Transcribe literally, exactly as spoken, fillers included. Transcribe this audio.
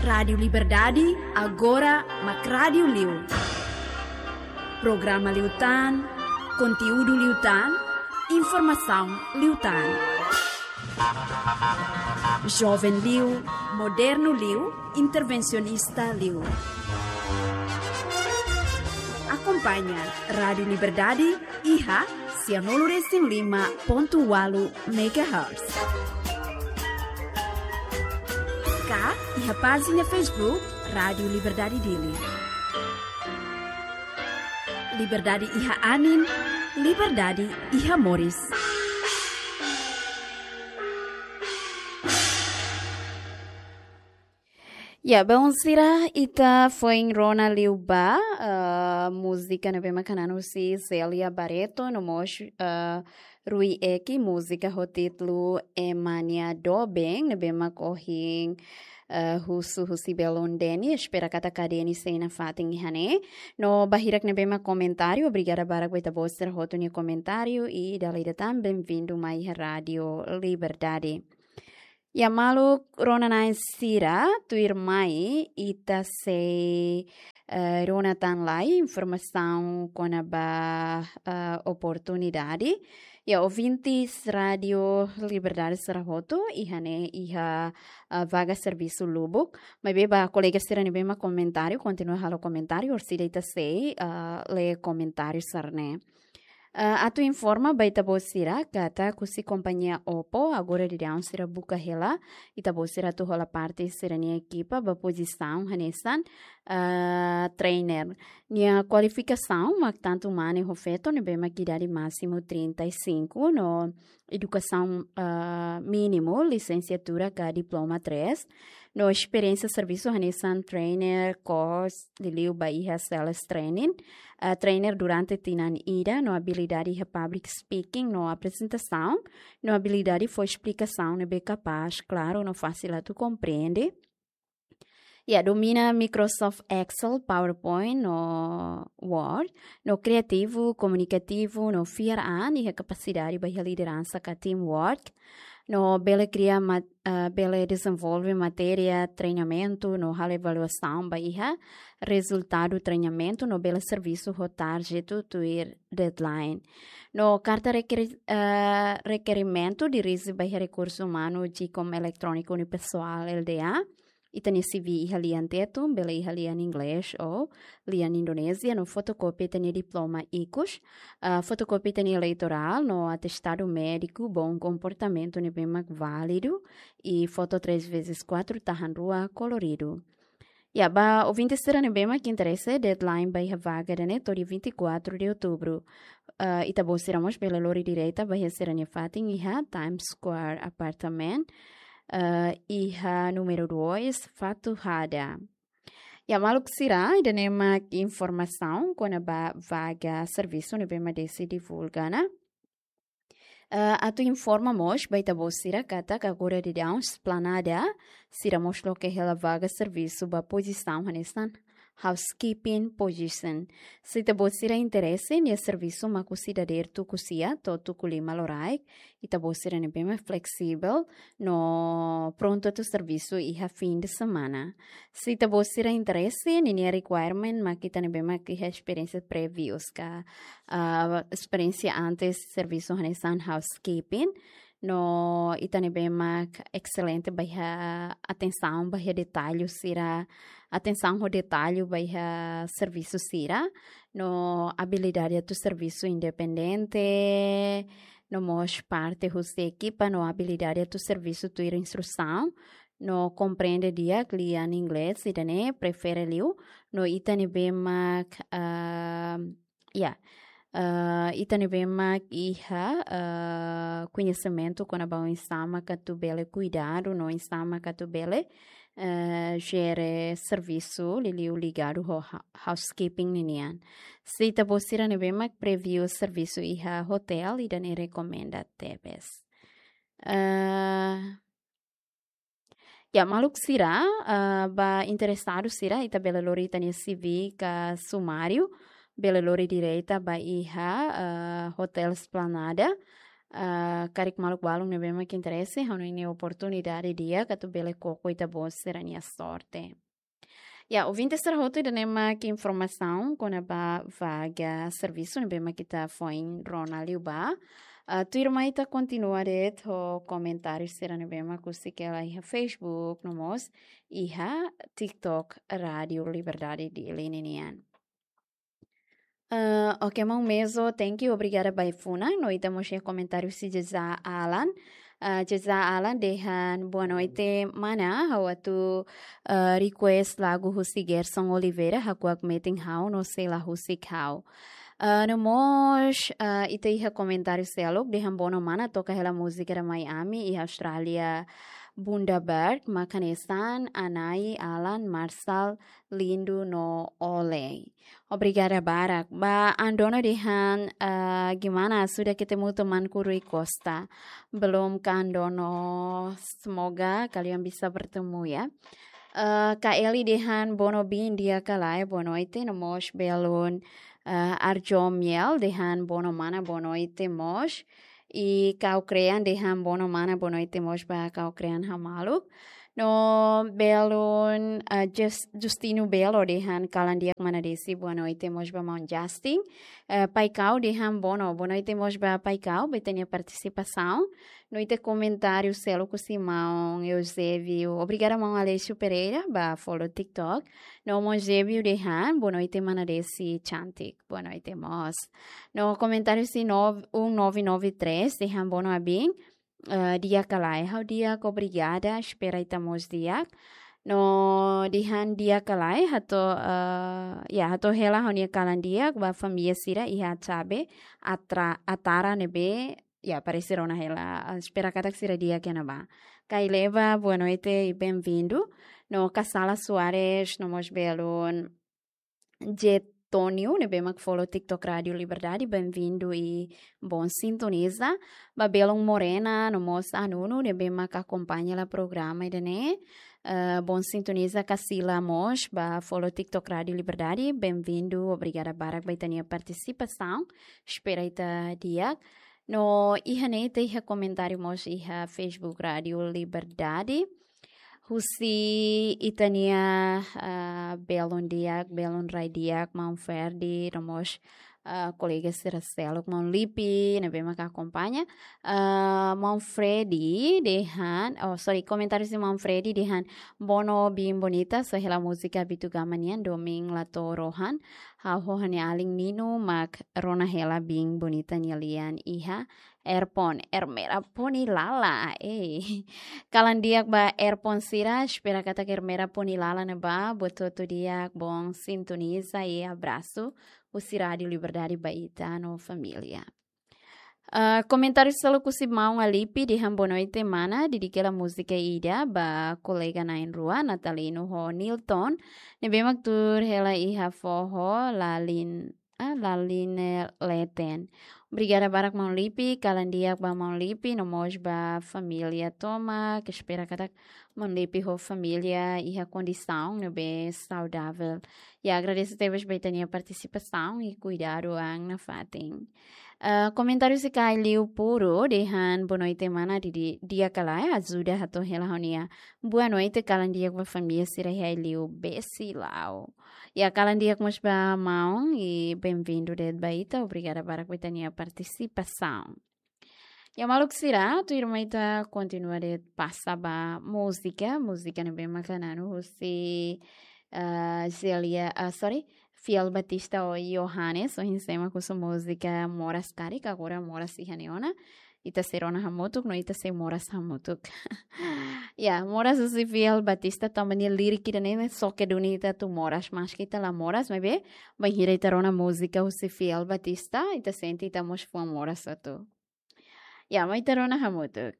Rádiu Liberdade, agora mak rádiu liu. Programa liután, konteúdu liután, informasaun liután. Joven liu, modernu liu, intervensionista liu. Akompaña Rádiu Liberdade iha sianulu resin lima pontu ualu megahertz. Ka iha pájina Facebook Rádiu Liberdade Dili. Liberdade iha anin, liberdade iha moris. Ya, bom, sira, ita foin rona liu ba, eh, múzika ne'ebé mak hananu husi Célia Barreto, no mós, eh, Rui Eki, múzika ho títulu Ema nia Doben, ne'ebé mak ohin, eh, husu husi belun Deni, espera katak Deni sei nafatin iha ne'e. No ba hirak ne'ebé mak komentáriu, obrigada barak ba ita-boot sira hotu nia komentáriu, i dala ida tan, bem-vindo mai iha Rádiu Liberdade. Ya, maluk rona-na'in sira, tuirmai ita sei, eh, rona tan lai informasaun kona-ba, eh, oportunidade. Ya, ouvintes Rádiu Liberdade sira hotu, iha ne'e iha, eh, vaga servisu lubuk. Maibé ba kolega sira ne'ebé mak komentáriu, kontinua halo komentáriu, orsida ita sei, eh, lee komentáriu sira-ne'e. Eh, atu informa ba ita-boot sira katak husi kompañia Oppo, agora daudaun sira buka hela ita-boot sira atu hola parte sira-nia ekipa ba pozisaun hanesan, eh, trainer. Nia kualifikasaun mak tantu mane ho feto ne'ebé mak idade másimu trinta e cinco, no edukasaun, eh, mínimu, lisensiatura ka diploma três, no esperiénsia servisu hanesan trainer, course, liuliu ba iha sales training, eh, trainer durante tinan ida, no abilidade iha public speaking, no aprezentasaun, no abilidade fó esplikasaun ne'ebé kapás, klaru, no fásil atu komprende. Ya, domina Microsoft Excel, PowerPoint, no Word, no kriativu, komunikativu, no fiar an iha kapasidade ba iha lideransa ka teamwork, no bele kria mat-, eh, bele dezenvolve matéria, treinamentu, no halo avaliasaun ba iha rezultadu treinamentu, no bele servisu ho target tuir deadline. No karta rekeri-, eh, rekerimentu dirije ba iha rekursu umanu, GCOM eletróniku unipessoal, L D A. Ita-nia C V iha lian Tetun, bele iha lian Inglés ou lian Indonézia, no fotokópia ita-nia diploma ikus, ah, fotokópia ita-nia eleitorál, no atestadu médiku bom komportamentu ne'ebé mak válidu, i foto três vezes quatro tahan rua koloridu. Ya, ba ouvinte sira ne'ebé mak interese, deadline ba iha vaga ida-ne'e to'o dia vinte e quatro de outubro. Ah, ita-boot sira mós bele lori direta ba iha sira-nia fatin iha Times Square Apartment, eh, iha númeru dois, Fatuhada. Ya, maluk sira, ida-ne'e mak informasaun kona-ba vaga servisu ne'ebé mak Desi divulga ona. Eh, atu informa mós ba ita-boot sira katak agora daudaun Esplanada sira mós loke hela vaga servisu ba pozisaun hanesan housekeeping position. Se ita-boot sira interese, nia servisu mak husi dadeer tuku sia to'o tuku lima loraik. Ita-boot sira ne'ebé mak flexible, no prontu atu servisu iha fim de semana. Se ita-boot sira interese, ninia requirement mak ita ne'ebé mak iha esperiénsia previous ka, ah, esperiénsia antes servisu hanesan housekeeping. No ita ne'ebé mak excelente ba iha atensaun ba iha detallu sira, atensaun ho detallu ba iha servisu sira, no abilidade atu servisu independente, no mós parte husi ekipa, no abilidade atu servisu tuir instrusaun, no komprende di'ak lian Inglés, ida-ne'e prefere liu, no ita ne'ebé mak, ah, ya, ah, ita ne'ebé mak iha, ah, koñesimentu kona-ba oinsá mak atu bele kuidadu, no oinsá mak atu bele, eh, jere servisu liuliu ligadu ho ha-, housekeeping ninian. Se ita-boot sira ne'ebé mak preview servisu iha hotel, ida-ne'e rekomenda tebes. Eh, ya, maluk sira, eh, ba interesadu sira, ita bele lori ita-nia C V ka sumáriu, bele lori direta ba iha, eh, Hotel Esplanada, ah, karik maluk balun ne'ebé mak interese, ha'u hanoin ne'e oportunidade di'ak atu bele koko ita-boot sira-nia sorte. Ya, ouvinte sira hotu, ida-ne'e mak informasaun kona-ba vaga servisu ne'ebé mak ita foin rona liu ba. Ah, tuirmai ita kontinua de'it ho komentáriu sira ne'ebé mak husik hela iha Facebook, no mós iha TikTok Rádio Liberdade Dili nian. Ah, oke, maun Mezo, thank you, obrigada ba ai-funan. No ita mós iha komentáriu husi Jeza Alan. Ah, Jeza Alan dehan, "Boa noite, mana. Ha'u atu, ah, request lagu husi Gerson Oliveira, Hakuak Metin Ha'u no Sei La Husik Ha'u." Ah, no mós, ah, ita iha komentáriu seluk dehan, "Bono mana, toka hela múzika da Miami iha Austrália, Bundaberg, mak hanesan Anai, Alan, Marshall, Lindo no Olei." Obrigada barak. Ba Andono dehan, ah, "Gimana, sudah ketemu temanku Rui Costa?" Belum, Kak Andono, semoga kalian bisa bertemu ya. Ah, Kak Eli dehan, "Bono biin di'ak ka lae, boa noite." No mós belun, ah, Arjo Miel dehan, "Bono mana, boa noite mós." I Kau Krean dehan, "Bono mana, boa noite mós ba Kau Krean hamaluk." No belun, ah, Jus-, Justino Belo dehan, "Kalan di'ak mana Desi, boa noite mós ba maun Justin." Eh, Pai Kau dehan, "Bono, boa noite mós ba Pai Kau, ba ita-nia partisipasaun." No ita komentáriu seluk husi maun Eusébio. Obrigada maun Aleixo Pereira ba follow TikTok. No maun Eusébio dehan, "Boa noite mana Desi cantik." Boa noite mós. No komentáriu husi nove, um nove nove três dehan, "Bono abin, eh, di'ak ka lae?" Ha'u di'ak, obrigada, espera ita mós di'ak. No dehan, "Di'ak ka lae, hato'o, eh, ya, hato'o hela ha'u-nia kalan di'ak ba família sira iha Atsabe, Atra-, Atara ne'ebé, ya, parese rona hela, ah, espera katak sira di'ak iha ne'ebá." Kai Leva, boa noite e bem-vindo. No Kasala Soares, no mós belun Jetonio, ne'ebé mak follow TikTok Rádio Liberdade, bem-vindo e bom sintoniza. Ba belun Morena, no mós Anunu, ne'ebé mak akompaña hela programa ida-ne'e. Eh, bom sintoniza. Kasila mós ba follow TikTok Rádio Liberdade, bem-vindo, obrigada barak ba ita-nia partisipasaun. Espera ita di'ak. No iha ne'e ita iha komentáriu mós iha Facebook Rádio Liberdade. Husi ita-nia, ah, belun di'ak, belun rai di'ak, maun Ferdi, no mós, ah, kolega sira seluk, maun Lipi, ne'ebé mak akompaña. Ah, maun Freddy dehan, oh, sorry, komentáriu husi maun Freddy dehan, "Bono biin bonita, só hela múzika Bitu Gama nian, Domin la to'o rohan. Ha'u ho ha'u-nia alin Nino mak rona hela biin bonita nia lian iha Erpon, Ermera Poni Lala." Eh, kalan di'ak ba Erpon sira, espera katak Ermera Poni Lala ne'ebá, buat hotu di'ak, bom sintoniza e abrasu husi Rádio Liberdade ba ita no família. Ah, komentáriu seluk husi maun Alipi dehan, "Boa noite mana, dedika hela múzika ida ba kolega na'in-rua, Natalino ho Nilton, ne'ebé mak tuur hela iha foho lalin, ah, lalin leten." Obrigada barak maun Lipi, kalan di'ak ba maun Lipi, no mós ba família tomak, espera katak maun Lipi ho família iha kondisaun ne'ebé saudavel. Ya, agradese tebes ba ita-nia partisipasaun i kuidadu an nafatin. Ah, komentáriu husi Kai Liu Puro dehan, "Boa noite mana, di, di, di'ak ka lae, ajuda hato'o hela ha'u-nia boa noite, kalan di'ak ba família sira iha Aileu Besilau." Ya, kalan di'ak mós ba maun i bem-vindo de'it ba ita, obrigada barak ba ita-nia partisipasaun. Ya, maluk sira, tuirmai ita kontinua de'it pasa ba múzika, múzika ne'ebé mak hananu husi, ah, Zelia, ah, sorry, Fiel Batista ho Johannes, ohin sé mak husu múzika moras karik, agora moras iha ne'e ona. Ita sei rona hamutuk, no ita sei moras hamutuk. Ya, moras husi Fiel Batista, tanba nia lirik ida-ne'e ne'e xoke duni ita atu moras, maski ita la moras, maibé, bainhira ita rona múzika husi Fiel Batista, ita sente ita mós fuan moras atu. Ya, mai ita rona hamutuk.